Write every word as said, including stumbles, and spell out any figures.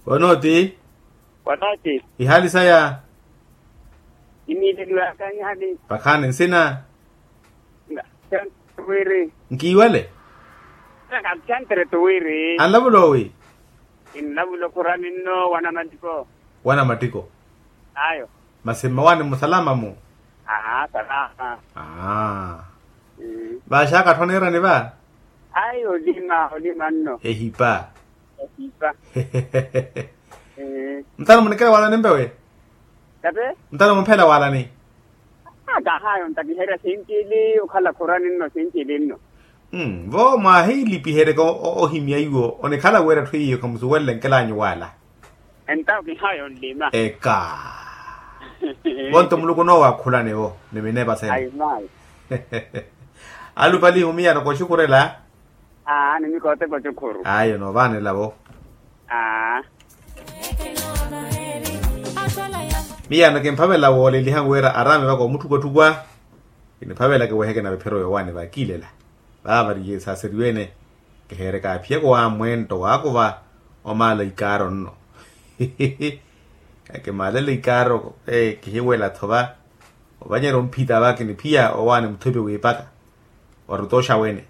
Onooti. Onooti. Ihaali saya. Imiileliwaka ihali. Pakhaani nsina. Wiri. Nkiiwale. Kakuchantere tu wiri. Anlavula owi. Inlavula okhurani nno wana mattiko. Wana mattiko. Ayo. Masi mmawaani musalama-mu. Aa salama. Aa. Vaaxaka atthu aneerani va. Ayi olima olima nno. Ehipa. Ehipa. Mutano munikela waalani mpewe. Tate. Mutano mumphela waalani. Kahayo ntakiherya sinci ili okhala khurani nno sinci ili nno. Vo mwaahilipiheryeke ohimya iwo onikhala wira etthu iyo khamusuwelele nkelanyu waala. Entawo kihayo nlima. Eka. Vonto muluku onoowakhulani vo ni minepa sene. Ayi mayi. Alupalihu miyano koxukhurela. Aa ni mikoote koxukhuru. Ayo noovanela vo. Aa. Miyano kimphavela wooleliha wira araami vaka omutthukwatthukwa. Kiniphavela kiweheke na viphiro vyowaani vakiilela. Vaavariye saaseriwene. Kiheereka aphiyaka owaamwento waakuva omaala ikaaro nno. Akimaalela ikaaro kihiwela-tho va. Ovanyerya omphita va kiniphiya owaani muthupi wiipaka. Warutoxa wene.